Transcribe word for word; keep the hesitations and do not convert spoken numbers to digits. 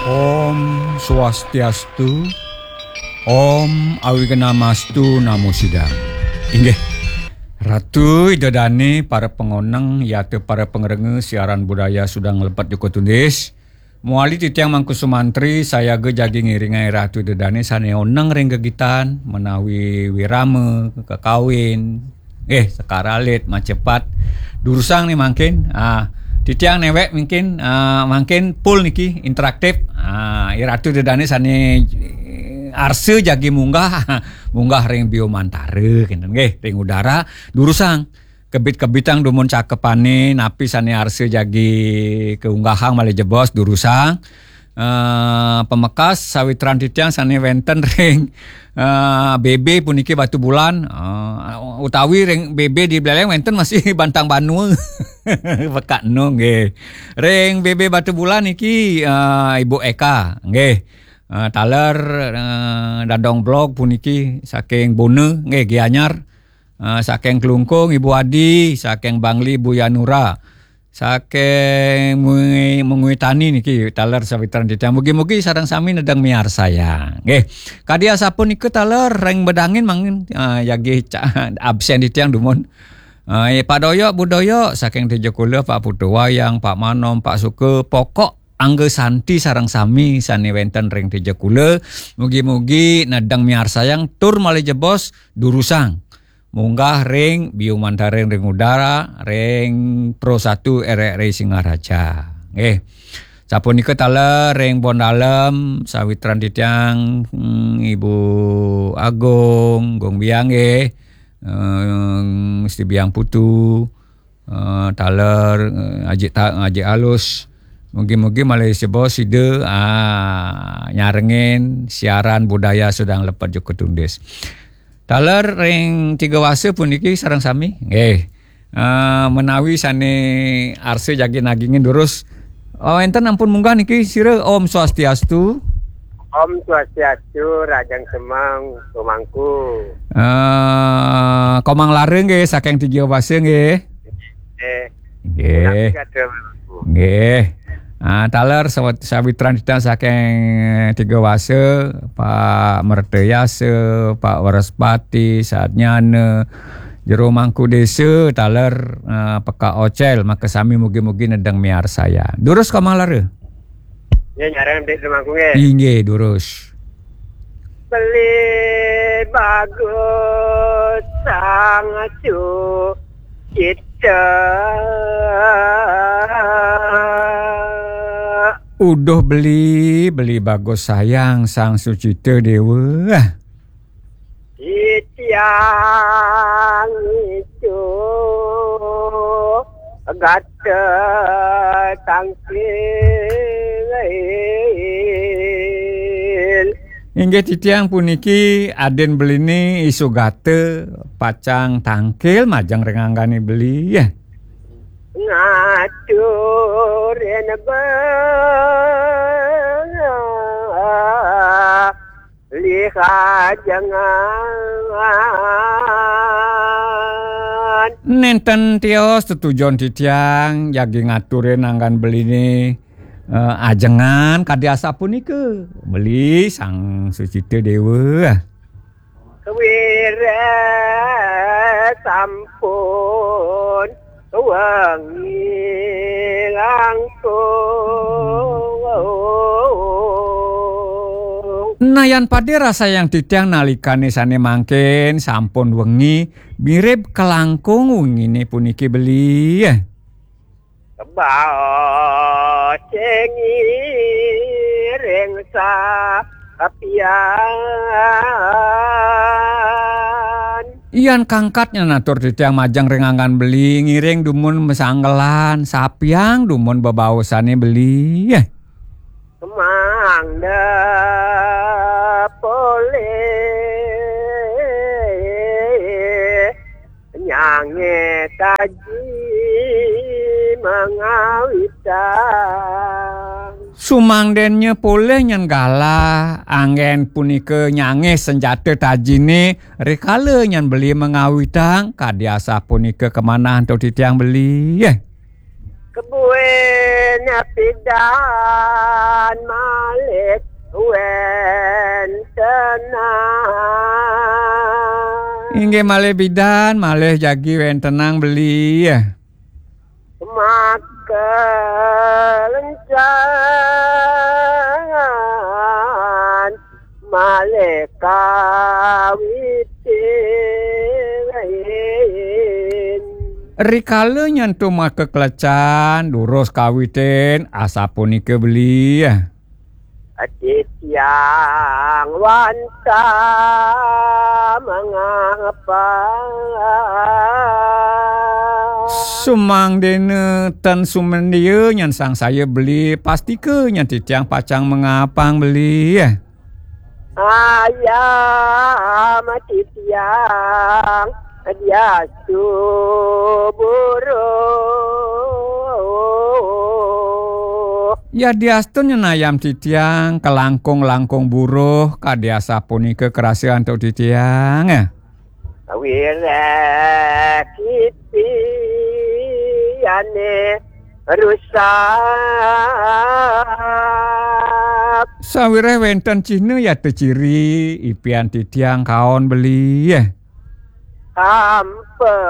Om Swastiastu, Om Awignamastu Namo Sidam. Inggih, Ratu Ida Dane, para pangoneng, yata para pangrengga siaran budaya Sudang Lepet Joko Tundis. Mawali titiang Mangku Sumantri, sayaga jagi ngiringai Ratu Ida Dane sane oneng ring gegitan, menawi wirama, kekawin, eh, sekar alit, macepat. Durusang nih mangkin, ah, titiang newek mungkin, ah, mangkin full niki, interaktif. Ah, Ratu Ida Dane sane, eh, arsa jagi munggah, munggah ring biumantara, kinten nggih, ring udara, durusang. Kebit-kebitang dumun cakepane, napi sane arsa jagi kaunggahang malih jebos, durusang. Eh, pamekas sawitran titiang sane wenten ring, eh, B B puniki Batubulan, eh, utawi ring B B di Buleleng wenten masih Bantang Banua. Pekak nu nggih. Ring B B Batubulan niki, eh, Ibu Eka nggih. Eh, taler, eh, Dadong Blog puniki saking Bona nggih, Gianyar. Eh, saking Klungkung, Ibu Adi, saking Bangli, Bu Yanura, saking Mui-, Mengwi Tani niki, taler sawitran titiang. Mugi-mugi sareng sami nedeng miarsayang. Nggih. Kadi asapunika taler ring bedangin mangkin, eh, jagi ca-, absen titiang dumun. Eh, Pak Doyok, Bu Doyok, saking Tejokula, Pak Putu Wayang, Pak Manom, Pak Suka, pokok angga santi sareng sami sane wenten ring Tejokula. Mugi-mugi nedeng miarsayang tur malih jebos durusang munggah ring biumantara ring udara, ring Pro Satu R R I Singaraja. Nggih. Sapunika taler ring Bondalem, sawitran titiang, hmm, Ibu Agung, Gung Biang nggih. Eh, Gusti Biang Putu, eh, taler, eh, Ajik Ta-, Ajik Alus. Mugi-mugi malih sebo sida, ah, nyarengin siaran budaya Sudang Lepet Joko Tundis. Taler ring Tiga Wasa puniki sareng sami. Nggih. Eh, menawi sane arsa jagi nagingin durus. Oh, enten ampun munggah niki sira, Om Swastiastu. Om Swastiastu, Rajang Semeng, Komangku. Eh, Komang Lara nggih, saking Tiga Wasa nggih. Eh, nggih. Punapi kata Komangku. Nggih. Ah, taler sawat-, sawitran titiang saking Tiga Wasa, Pak Mertayasa, Pak Waraspati, Satnyana, Jero Mangku Desa, taler, eh, Peka Ocel, maka sami mugi-mugi nedeng miarsayang. Durus Komang Lara. Ya, nyarang Dik Semangku nggih. Inggih, durus. Beli bagus sang sucita. Uduh beli, beli bagus sayang sang sucita dewa. Titiang itu gata tangkil. Inggih titiang puniki adin beline Isugata pacang tangkil majeng ring anggane beli. Ngaturin beli kajengan. Nenten tios tetujon titiang jagi ngaturin anggan beline, eh, ajengan kadi asapunika. Beli Sang Sucita Dewa. Kewire sampun wengi langkung. Nayan pade rasayang titiang nalikane sane mangkin sampun wengi, mirib kalangkung wengine puniki beli. Baos ngiring sapian. Yan kangkat nyen atur titiang majeng ring anggan beli, ngiring dumun masanggelan, sapiang dumun bebaosane beli. Mangda polih nyange taji mangawitang. Sumangdennya polih nyen galah, anggen punika nyange senjata tajine, rikala nyen beli mangawitang, kadi asapunika kamanah antuk titiang beli. Kebuin pidan Inggih malih bidan, malih jagi wéntenang beli. Maka lencan malih kawitin. Rikala nyentuh maka kelecan, durus kawitin, asapunika beli. Titiang wantah mangapang. Sumangdéna ten sumandia nyen sangsaya beli, pastika nyen titiang pacang mangapang beli. Ayam titiang diastu buruh. Yadiastun nyen ayam titiang kalangkung-langkung buruh, kadi asapunika karasa antuk titiang. Wiréh kipi ané rusak. Sawiréh wénten cihna yata ciri, ipian titiang kaon beli. Ampa